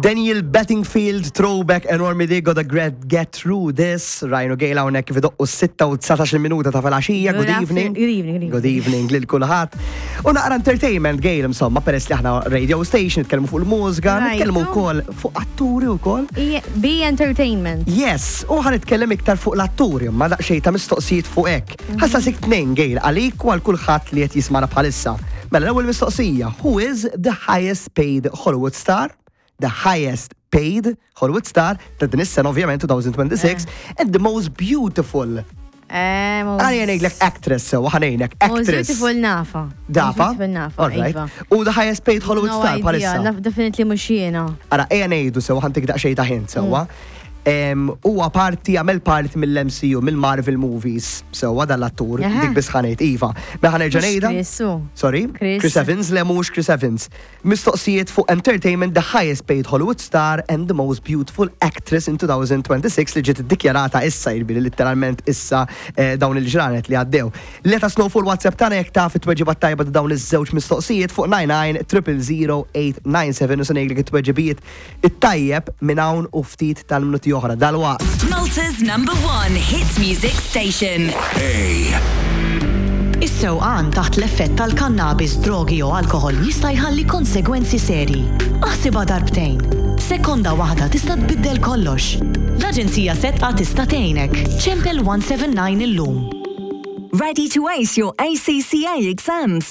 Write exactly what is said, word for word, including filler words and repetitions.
Daniel Bettingfield, throwback enormi di, gotta get, get through this. Ryan u Gail hawnhekk kif idoqqu sitta u dsatax minuta ta' filgħaxija. Good Good evening. afternoon- good evening, good evening. Good evening lil kulħadd. U naqra entertainment, Gail, insomma, peress li aħna radio station, nitkellmu fuq il-mużika, Right. nitkellmu wkoll fuq atturi wkoll. Be entertainment. Yes, u ħa nitkellem iktar fuq l-atturi, ma daqsxejn ta' mistoqsijiet fuq hekk. Ħa nsaqsik tnejn, Gail, għalik u għal kulħadd li qed jismana bħalissa. Mela l-ewwel mistoqsija, who is the highest paid Hollywood star? The highest paid Hollywood star ta' din is-sena, ovvjament, twenty twenty-six, and the most beautiful. Eh, most- Għalija ngħidlek actress sewa, ħa ngħinek Most actress. beautiful nafa. Dafa? Most beautiful nafa, All right. iva. U the highest paid Hollywood No star idea, bħalissa. naf definitely mhux jiena. Ara, ejja ngħidu sewa, ħa ntik daqsxejn ta' hint sewa. Em, Huwa parti, għamel parti mill-M C U, mill-Marvel movies, sewa dal-attur, Aha. dik biss ħa ngħid, iva. Ma ħa nerġa' Mhux ngħidha? Chris, u. Sorry? Chris. Chris Evans, le, mhux Chris Evans. Mistoqsijiet fuq entertainment, the highest paid Hollywood star and the most beautiful actress in twenty twenty-six li ġiet iddikjarata issa, jiġifieri literalment issa, eh, dawn il-ġranet li għaddew. Let us know fuq il-WhatsApp tagħna jekk taf it-tweġiba tajba ta' dawn iż-żewġ mistoqsijiet fuq nine nine triple zero eight nine seven u se ngħidlek it-tweġibiet it-tajjeb minn hawn u ftit tal-minuti oħra. Dalwaqt. Malta's number one hit music station. Is-sewqan taħt l-effett tal-kannabis, drogi u alkohol jista' jħalli konsegwenzi seri. Aħsibha darbtejn. Sekonda waħda tista' tbiddel kollox. L-Aġenzija Sedqa tista' tgħinek. Ċempel one seven nine illum. Ready to ace your A C C A exams?